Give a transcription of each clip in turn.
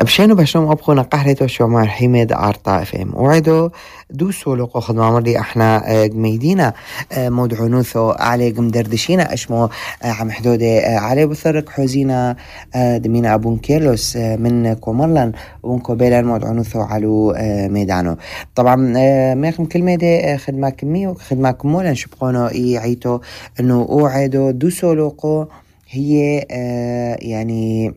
بشانو بشنو أبخونا قحرتو شو مار حميد عرطا FM وعدو دوسو لقو خدمة مرضي احنا قميدينا مودعونوثو علي قمدردشينا اشمو عم حدودي علي بثرق حوزينا دمينا أبون كيرلوس من كومرلان ونكو بيلان مودعونوثو علو ميدانو. طبعا ميخم كلمة دي خدمة كمي وخدمة كمولا شبقونو عيتو انو اوعدو دوسو لقو هي يعني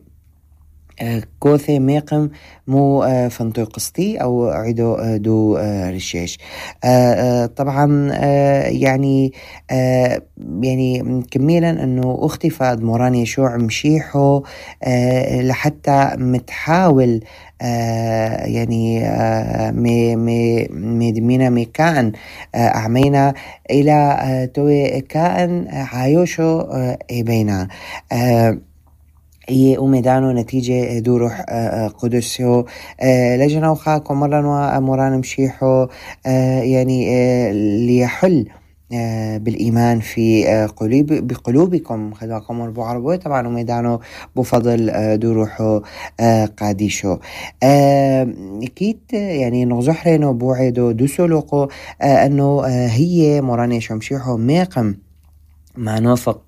كوثي ميقم مو فنطو قسطي أو عدو دو رشيش. طبعا يعني كميلا أنه اختفى موران يشوع مشيحو لحتى متحاول يعني ميدمينا ميكان أعمينا إلى توي كائن عايوشو بينا وميدانو نتيجة دو روح قدسيو لجنا وخاكو مرة ومران مشيحو يعني ليحل بالإيمان في بقلوبكم خدواكم مربو عربوي طبعا وميدانو بفضل دو روحو قاديشو كيت يعني نغزحرينو بوعدو دو سلوقو أنه هي مراني شمشيحو ميقم ما نوفق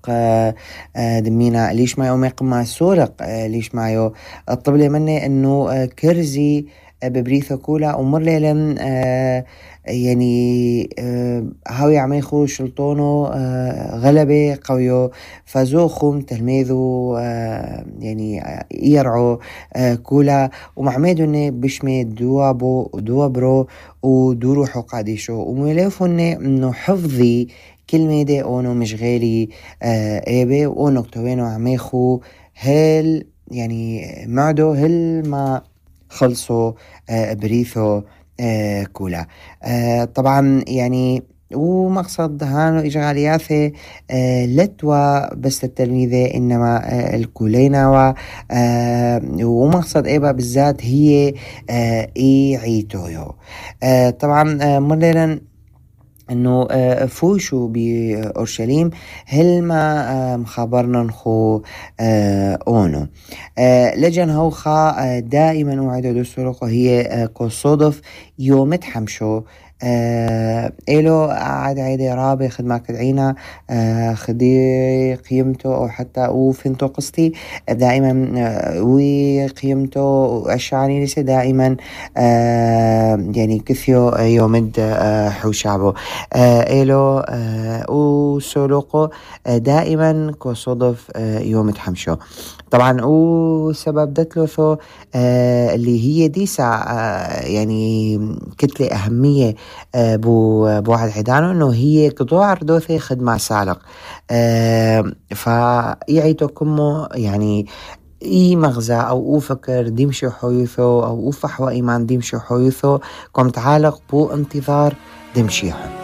دمينا ليش ما يوم يقم مع السورق ليش ما يو الطبلة مني انه كرزي ببريثو كولا ومر ليلن يعني هاوي عميخو شلطونو غلبة قويو فزوخم تلميذو يعني يرعو كولا ومعميدو بشمي دوابرو ودوروحو قاديشو ومليفو انه حفظي كلمة دي اونو مشغالي ايبه واونو كتوينو عميخو هل يعني معدو هل ما خلصوا بريثو كولا. طبعا يعني ومقصد هانو إجغالياثي لتوا بس التلميذة إنما الكولينا ومقصد إيبا بالذات هي عيتويو. طبعا مرلنا انه فوشوا بأورشليم هل ما مخابرنا نخو اونو لجن هوخا دائما وعدو دوسروقو هي كوصودف يوم تحمشو إلو عاد عيدي رابي خدمة كدعينا خدي قيمته أو حتى وفنتو قسطي دائما وقيمته أشعاني لسه دائما يعني كثيو يومد حوشعبه إلو وسولوقو دائما كصدف يوم تحمشو. طبعا وسبب دتلوثو اللي هي ديسا يعني كتلة أهمية بوعد عدانو انه هي قطوع ردوثي خدمة سالق فيعيتو كمو يعني اي مغزى او فكر ديمشي حيوثو او فحوى ايمان ديمشي حيوثو كم تعالق بو انتظار دمشيحو.